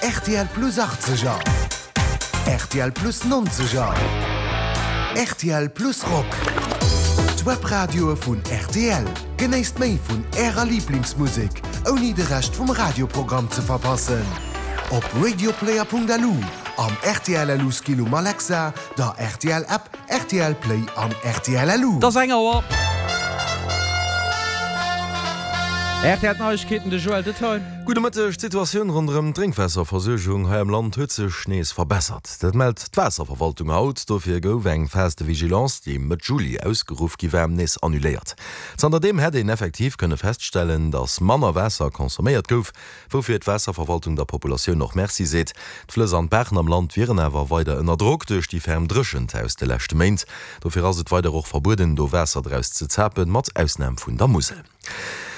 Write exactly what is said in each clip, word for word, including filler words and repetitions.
R T L Plus achtzeger, R T L Plus nonzeger, R T L Plus Rock. D'Webradioe vun R T L. Genéisst méi vun Ärer Liblingsmusek, ouni de Rescht vum Radioprogramm ze verpassen. Op radioplayer Punkt L U, am R T L L U Skill um Alexa, der R T L App, R T L Play an R T L L U. Et ass eng Auer. R T L Neiegkeeten, de Joël Detail. Gudde Mëtteg, D'Situatioun ronderëm d'Drénkwaasserversuergung hei am Land huet sech nees verbessert. Dat mellt d'Waasserverwaltung haut. Dofir gouf eng Phase de vigilance, déi Mëtt Juli ausgeruff gi war, nees annuléiert. Zanterdeem hätt een effektiv kënne feststellen, datt manner Waasser consomméiert gouf, woufir d'Waasserverwaltung der Populatioun och Merci seet. D'Flëss an d'Baachen am Land wieren awer weider ënner Drock duerch déi ferm Dréchent aus de leschte Méint. Dofir ass et weider och verbueden, do Waasser draus ze zapen, mat Ausnam vun der Musel.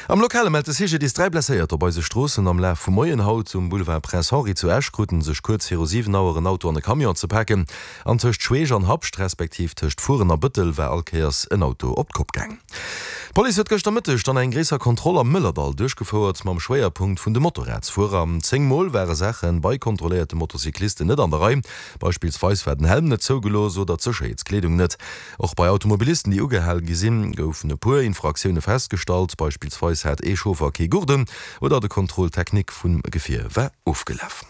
Am Lokale mellt de C G D I S dräi Blesséierter op eise Stroossen am Laf vum Moien haut. Um Boulevard Prince Henri zu Esch kruten sech kuerz viru siwen Auer en Auto an e Camion ze paken. An tëscht Schweech an Habscht, respektiv tëscht Furen a Bëttel war all Kéiers en Auto op d'Kopp gaang. D'Police huet gëschter Mëtteg dann eng gréisser Kontroll am Mëllerdall duerchgefouert, mam Schwéierpunkt vun de Motorradsfuerer. Zéng Mol ware Saache bei kontrolléierte Motocyclisten net an der Rei, beispillsweis war den Helm net zougelooss oder d'Sécherheetskleedung net. Och bei Automobilisten, déi ugehal gi sinn, goufen e puer Infraktioune festgestallt, beispillsweis hat ee Chauffer kee Gurt un oder de Contrôle technique vum Gefier war ofgelaf.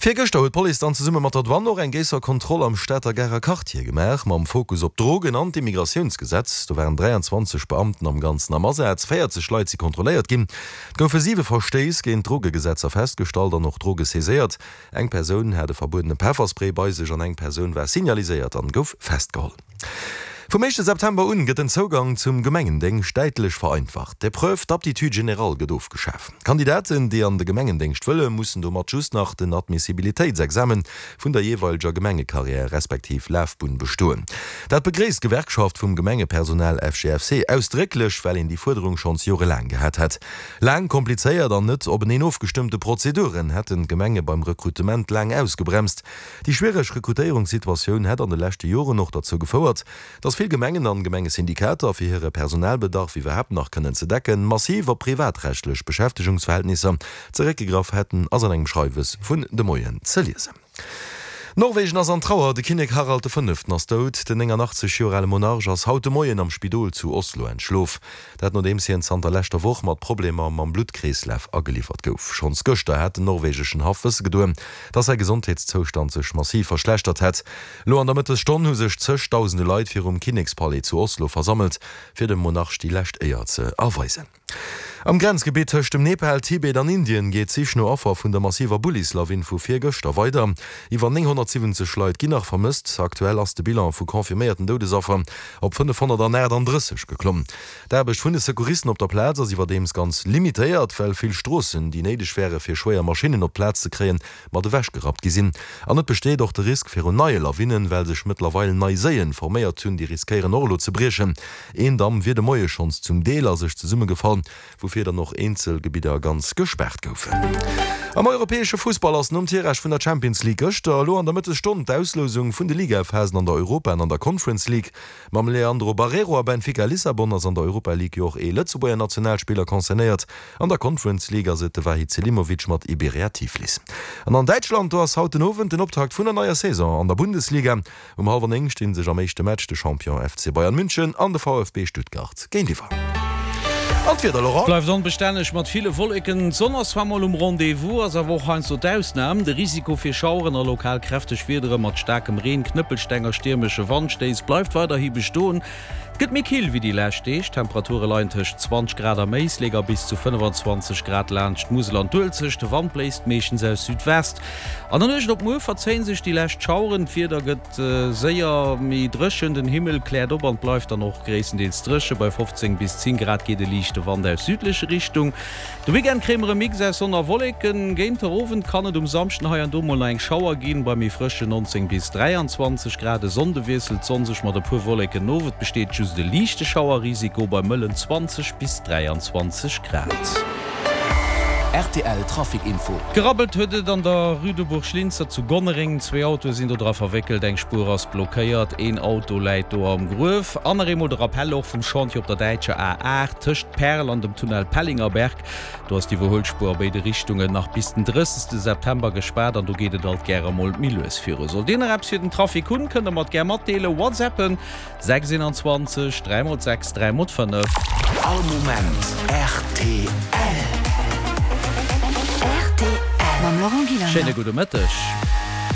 Virgëschter huet d'Police dann zesumme mat der Douane och eng gréisser Kontroll am Stater Garer Quartier gemaach, mam Fokus op d'Drogen an d'Immigratiounsgesetz. Do waren dräianzwanzeg Beamten am Ganzen am Asaz, véierzeg Leit si kontrolléiert ginn. Et goufe siwe Verstéiss géint d'Drogegesetzer festgestallt an och Droge saiséiert. Eng Persoun hat e verbuedene Pefferspray bei sech an eng Persoun war signaliséiert an gouf festgeholl. Vum éischte September un gëtt den Zougang zum Gemengendéngscht däitlech vereinfacht. D'Épreuve d'aptitude générale gëtt ofgeschaf. Kandidaten, déi an de Gemengendéngscht wëllen, mussen domat just nach den Admissibilitéitsexamen vun der jeeweileger Gemengekarriär respektiv Lafbunn bestoen. Dat begréisst d'Gewerkschaft vum Gemengepersonal F G F C ausdrécklech, well een déi Fuerderung schonns jorelaang gehat hätt. Laang, komplizéiert an net openeen ofgestëmmte Prozeduren hätten d'Gemenge beim Rekrutement laang ausgebremst. Déi schwiereg Rekrutéierungssituatioun hätt an de leschte Joren och derzou gefouert, dass vill Gemengen an Gemengesyndikater, fir hire Personalbedarf iwwerhaapt nach kënnen ze decken, massiv op privatrechtlech Beschäftegungsverhältnisser zeréckgegraff hätten, ass an engem Schreiwes vun de Moien ze liesen. Norwegen ass an Trauer, de Kinnek Harald de Fënneften ass dout. Den néngannachtzeg Joer ale Monarch ass haut de Moien am Spidol zu Oslo entschlof. Dat nodeems hien zanter leschter Woch mat Problemer mam Bluttkreeslaf ageliwwert gouf. Schonns gëschter hat den norwegeschen Haff wësse gedoen, dass säi Gesondheetszoustand sech massiv verschlechtert hätt. Elo an der Mëttesstonn hu sech zegdausende Leit virum Kinnekspalais zu Oslo versammelt, fir dem Monarch déi lescht Éier ze erweisen. Am Grenzgebitt tëscht dem Nepal, Tibet an Indien geet d'Sich no Affer vun der massiver Bullislawin vu virgëschter weider. Iwwer nénghonnertsiwwenzeg Leit ginn nach vermësst. Aktuell ass de Bilan vu confirméierten Doudesaffer op fënnefhonnertaachtanddrësseg geklomm. D'Aarbecht vun de Secouristen op der Plaz ass iwwerdeems ganz limitéiert, well vill Stroossen, déi néideg wäre fir schwéier Maschinnen op d'Plaz ze kréien, mat ewechgerappt gi sinn. An et besteet och de Risk virun neie Lawinnen, well sech mëttlerweil nei Séien forméiert hunn, déi riskéieren och elo ze briechen. Een Damm wier de Moie schonns zum Deel a sech zesummegefall, woufir dann och eenzel Gebidder ganz gespaart goufen. Am europäesche Fussball ass nom Tirage vun der Champions League gëschter elo an der Mëttesstonn d'Auslousung vun de Ligaphasen an der Europa an an der Conference League. Mam Leandro Barreiro a Benfica Lissabon ass an der Europa League jo och ee Lëtzebuerger Nationalspiller concernéiert. An der Conference League ass et de Vahid Selimovic mat Iberia Tiflis. An an Däitschland, do ass haut den Owend den Optakt vun der neier Saison an der Bundesliga. Um hallwer néng sti sech am éischte Match de Champion F C Bayern München an de V F B Stuttgart géintiwwer. An d'Wieder, Laurent? Bleift onbestänneg mat ville Wolleken. D'Sonn ass zwar mol um Rendez-vous, ass awer och heiansdo d'Ausnam. De Risiko fir Schaueren a lokal kräfteg Wiedere mat staarkem Reen, Knëppelsteng a stiermesche Wandstéiss bleift weiderhi bestoen. Et gëtt méi kill wéi déi lescht Deeg, d'Temperature leien tëscht zwanzeg Grad am Éislek a bis zu fënnefenzwanzeg Grad laanscht d'Musel an d'Uelzecht. De Wand bléist meeschtens aus Südwest. An der Nuecht op muer verzéien sech déi lescht Schaueren, d'Wieder gëtt séier méi dréchen, den Himmel kläert op an et bleift dann och gréisstendeels dréche. Bei fofzéng bis zéng Grad geet e liichte Wand aus südleche Richtung. De Weekend kréie mer e Mix aus Sonn a Wolleken. Géint der Owend kann et um Samschden hei an do mol nach eng Schauer ginn, bei méi frëschen neunzéng bis dräianzwanzeg Grad. E Sonnde wiesselt d'Sonn sech mat e puer Wolleken of, et besteet just e liichte Schauerrisiko bei mëllen zwanzeg bis dräianzwanzeg Grad. Rtl Trafic Info. Gerabbelt huet et an der Rue de Bourg-Linster zu Gonnereng. Zwee Autoe sinn do dra verwéckelt, eng Spuer ass blockéiert, een Auto läit do am Gruef. An nach eemol de Rappell och vum Chantier op der däitscher A aacht tëscht Perl an dem Tunnel Pellingerberg. Do ass d'Iwwerhuelspuer a béide Richtungen nach bis den drëssegste September gespaart an do geet et alt gäre mol méi lues viru. Sollt Dir nach eppes fir den Trafic hunn, kënnt der mer et gär matdeelen. Whatsappen, sechs eenanzwanzeg, dräi mol sechs, dräi mol fënnef. All Moment rtl. Rtl mam Laurent Gillander. Schéine gudde Mëtteg.